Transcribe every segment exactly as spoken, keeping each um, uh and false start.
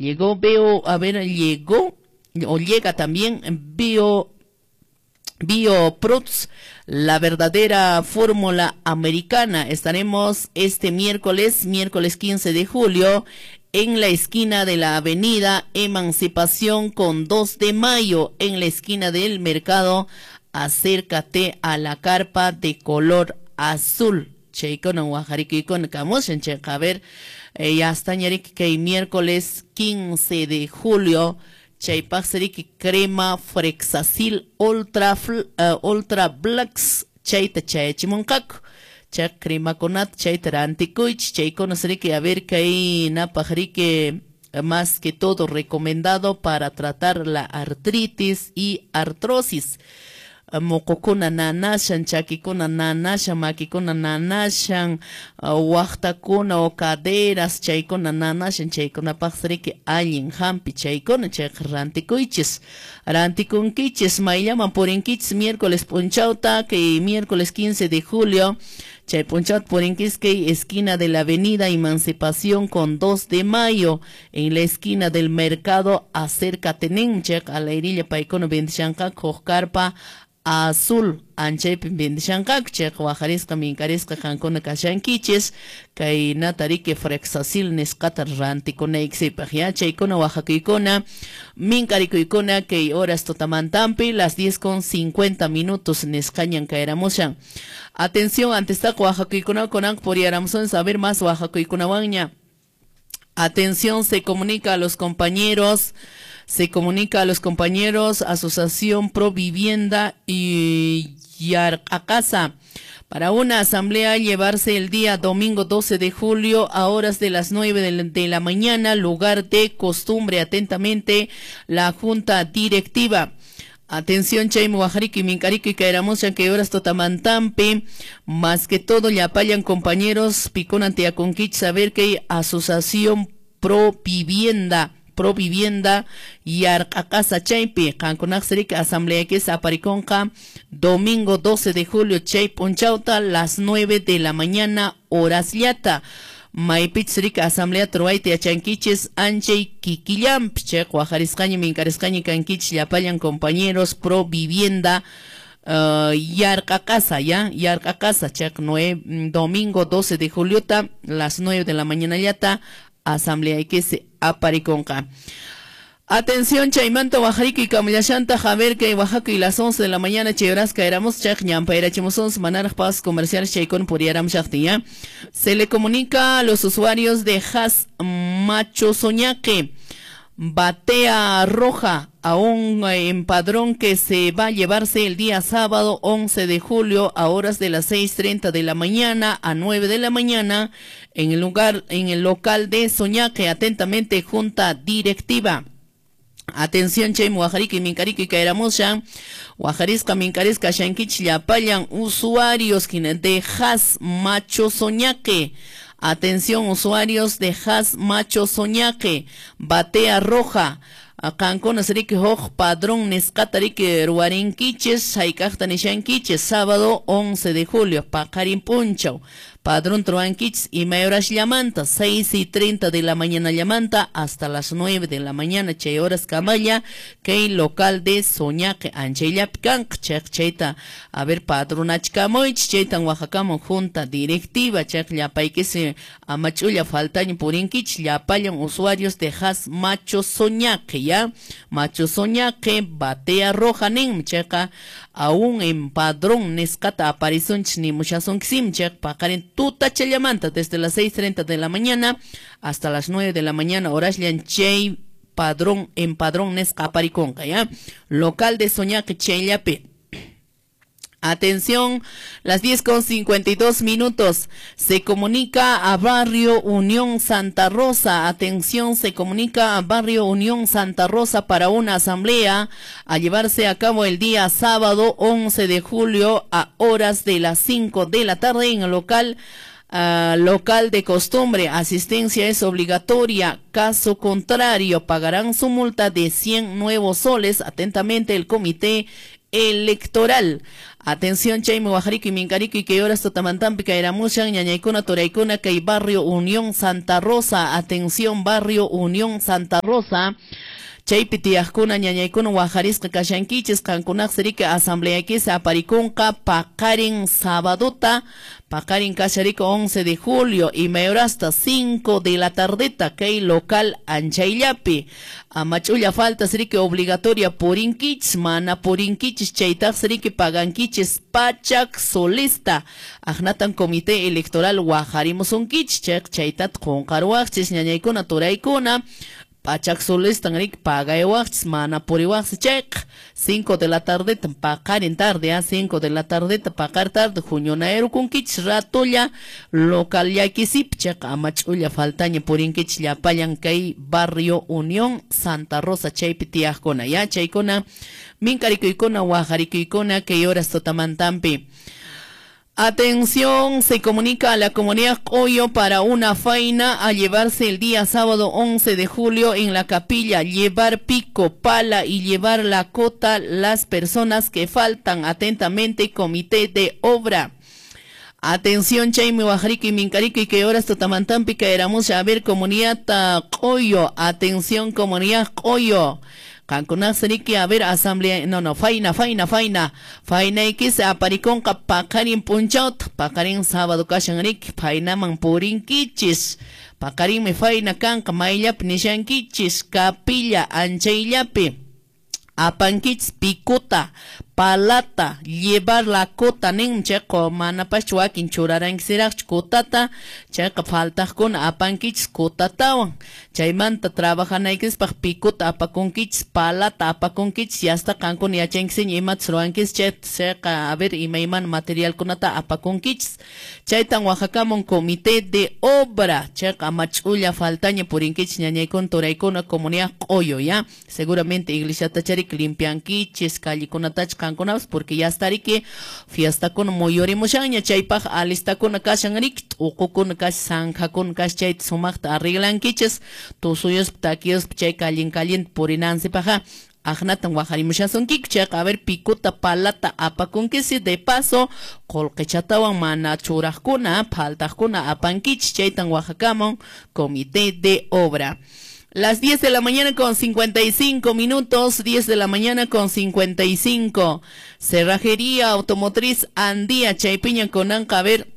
Llegó, veo, a ver, llegó o llega también Bio BioProts, la verdadera fórmula americana. Estaremos este miércoles, miércoles quince de julio, en la esquina de la avenida Emancipación con dos de mayo, en la esquina del mercado. Acércate a la carpa de color azul. Chaykuna wajarikuykuna kamushan chayqa, a ver, eh, ya está ñariki kay miércoles quince de julio. Chaypaq seriki crema Frexasil Ultra, uh, Ultra Blacks chayta chayachimunqaku. Chay cremakunata chayta rantikuychis. Chaykuna seriki, a ver, kay napaq riki más que todo recomendado para tratar la artritis y artrosis. Moqokuna nanashan, chakikuna nanashan, makikuna nanashan, waqtakuna o caderas chaykuna nanashan, chaykunapaq riki allin hampi chaykuna, chayqa rantikuychis. Rantikunkichis, mayllaman purinkichis miércoles p'unchawta, kay miércoles quince de julio, chay p'unchawta purinkichis kay esquina de la avenida Emancipación con dos de mayo, en la esquina del mercado, acércate nin, chayqa alayrilla paykuna vendishanqaku huk carpa azul anchaypi vendishanqaku, chayqa wajarisqa minkarisqa qankuna kashankichis kay natariki Frexasil nisqata rantikunaykisipaq, ya chaykuna wajakuykuna minkarikuykuna kay horas tutamantampi las diez con cincuenta minutos nisqañan kayramushan. Atención, antes taqa wajakuykuna kunanqa puriyaramusun saber más wajakuykunawanña. Atención, se comunica a los compañeros, se comunica a los compañeros Asociación Pro Vivienda y Yarqacasa para una asamblea a llevarse el día domingo doce de julio a horas de las nueve de la, de la mañana, lugar de costumbre. Atentamente, la Junta Directiva. Atención, chaymi wajariki minkariki kayramushan kay horas tutamantampi. Más que todo, llapallan compañeros, pikunan tiyakunkichis saber que hay Asociación Pro Vivienda, Pro Vivienda Yarqacasa chaypi. Qankunaq siriki asamblea que es apariconqa domingo doce de julio chay p'unchawta las nueve de la mañana horas llata. Maypich siriki asamblea truwayta yachankichis anchay kikillampi chay wajarisqaña minkarisqaña kankichis llapallan compañeros Pro Vivienda uh, Yarqacasa, ya Yarqacasa chay nueve, domingo doce de juliota las nueve de la mañana llata asamblea que se apariconqa. Atención, chaymanta wajariki kamillashanta javer que Oaxaca y las once de la mañana chay horas caeramos chaq ñampayrachimosons manaraj pasos comerciales chaykun puriaram shaqti, ya. Se le comunica a los usuarios de Has Macho Soñaque, Batea Roja, a un empadrón que se va a llevarse el día sábado once de julio a horas de las seis treinta de la mañana a nueve de la mañana en el lugar, en el local de Soñaque. Atentamente, Junta Directiva. Atención, chay wajariki minkariki kairamushan, wajarisqa minkarisqa shankichis llapallan usuarios de Has Macho Soñaque. Atención, usuarios de Has Macho Soñaque, Batea Roja. Qankuna siriki huk padrón nisqata riki ruwarinkichis, hayk'aqta nishankichis, sábado once de julio, paqarin p'unchaw. Padrón truankichis imay horas llamanta, seis y treinta de la mañana llamanta hasta las nueve de la mañana, chay horas kamalla, kay local de Soñaque, anchayllapi kanqa, chayqa chayta, a ver, padronachkamuychis, chaytan wajakamun junta directiva, chayqa llapaykisi amach'ulla faltaña purinkichis, llapallan usuarios de Has Macho Soñaque, ya, Macho Soñaque, Batea Roja nin, chayqa aún en padrón nisqata aparisunchis nimushasunkisim, chayqa paqarin tutachallamanta desde las seis treinta de la mañana hasta las nueve de la mañana, horasllan chay padrón en padrón nisqa aparikunqa, ya, local de Soñaque chayllapi. Atención, las diez con cincuenta y dos minutos, se comunica a Barrio Unión Santa Rosa. Atención, se comunica a Barrio Unión Santa Rosa para una asamblea a llevarse a cabo el día sábado once de julio a horas de las cinco de la tarde en el local, uh, local de costumbre. Asistencia es obligatoria, caso contrario pagarán su multa de cien nuevos soles. Atentamente, el comité Electoral. Atención, chaymi waqharikuy minkarikuy kay horas tutamantampi kayramushan ñañaykuna turaykuna kay barrio Unión Santa Rosa. Atención, barrio Unión Santa Rosa. Chaypi tiyaqkuna ñañaykuna waqharisqa kashankichis qankunaq riki asambleaykis aparikunqa paqarin sabadota paqarin kashariko once de julio y hasta cinco de la tardeta kay local anchayllapi amach'ulla faltas riki obligatoria purinkichis mana purinkichis chaytaq riki pagankichis pachak solista aqnatan comité electoral waqharimusunkichis chayqa chaytat qunqaruwaqchis ñañaykuna turaykuna pachak solistan rik pagaywaqchis mana puriwaqsi chayqa cinco de la tarde paqarin tarde a cinco de la tarde paqar tarde huñunayrukunkichis ratolla local llakisip chayqa amach'ulla faltaña purinkichis llapallan kay barrio Unión Santa Rosa chaypi tiyaqkuna ya chaykuna minkarikuykuna waqharikuykuna kay horas tutamantampi. Atención, se comunica a la comunidad Coyo para una faena a llevarse el día sábado once de julio en la capilla, llevar pico, pala y llevar la cota las personas que faltan. Atentamente, comité de obra. Atención, chaymi waqharikuy minkarikuy kay horas tutamantampi kayramusha a ver comunidad Coyo. Atención, comunidad Coyo. Qankunaq riki a ver asamblea no no faina faina faina fainaykis aparikunqa paqarin p'unchawta paqarin sábado kashan riki fainaman purinkichis paqarinmi faina kanqa mayllapi nishankichis capilla anchayllapi apankichis pikuta palata llevar la cota nin chayqa manapaschu wakin churarankisiraqchu kotata chayqa faltaqkuna apankichis kotatawan chaymanta trabajanaykispaq pikuta apakunkichis palata apakunkichis yasta qankuna yachankisiña imatas ruwankis chayqa a ver imaymana materialkunata apakunkichis chaytan waqhakamun comité de obra chayqa amach'ulla faltaña purinkichis ñañaykuna turaykuna comunidad Q'uyo ya seguramente iglesiatacharik limpiankichis callekunatacha qankunapas porque ya está riki fiestakuna muyurimushanña chaypaq alistakuna kashan riki t'uqukuna kashan sankhakuna kashan chayta sumaqta arreglankichis tusuyuspa takiyuspa chay callin caliente purinansipaqqa aqnatan waqharimushasunkiku chayqa a ver pikuta palata apakunkisi de paso qullqichatawan mana churaqkuna phaltaqkuna apankichis chaytan waqhakamun comité de obra. Las diez de la mañana con cincuenta y cinco minutos, diez de la mañana con cincuenta y cinco. Cerrajería Automotriz Andía, Chaypiña kunanqa, a ver,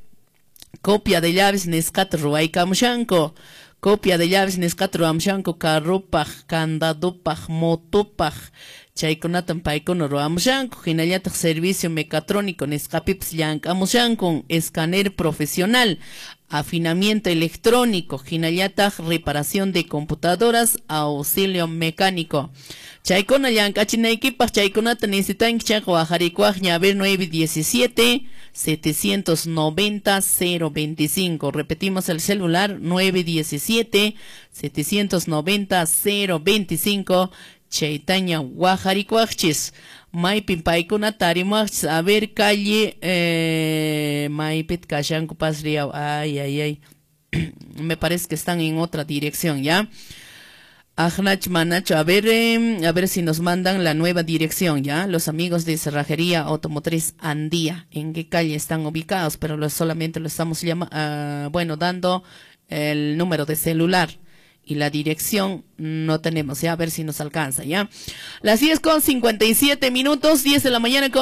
copia de llaves nisqata ruwaykamushanku. Copia de llaves nisqata ruwamushanku, carrupaq, candadupaq, motupaq. Chaykunatan paykuna ruwamushanku, hinallataq servicio mecatrónico nisqapipas llank'amushanku, escáner profesional, afinamiento electrónico, hinallataq reparación de computadoras, auxilio mecánico. Chaykuna llank'achinaykipaq chaykunata necesitanki chayqa waqharikuwaqña a ver nueve diecisiete, setecientos noventa, cero veinticinco. Repetimos el celular nueve diecisiete, setecientos noventa, cero veinticinco. Chaytaña waqharikuwaqchis. Maypin paykuna tarimuwaqchis a ver calle eh, maypit kashanku pasriaw ay ay ay me parece que están en otra dirección ya. Ajnach manacho, a ver eh, a ver si nos mandan la nueva dirección ya, los amigos de Cerrajería Automotriz Andía, en qué calle están ubicados, pero lo, solamente lo estamos llama, uh, bueno, dando el número de celular y la dirección no tenemos, ya, a ver si nos alcanza, ya. Las diez con cincuenta y siete minutos, diez de la mañana con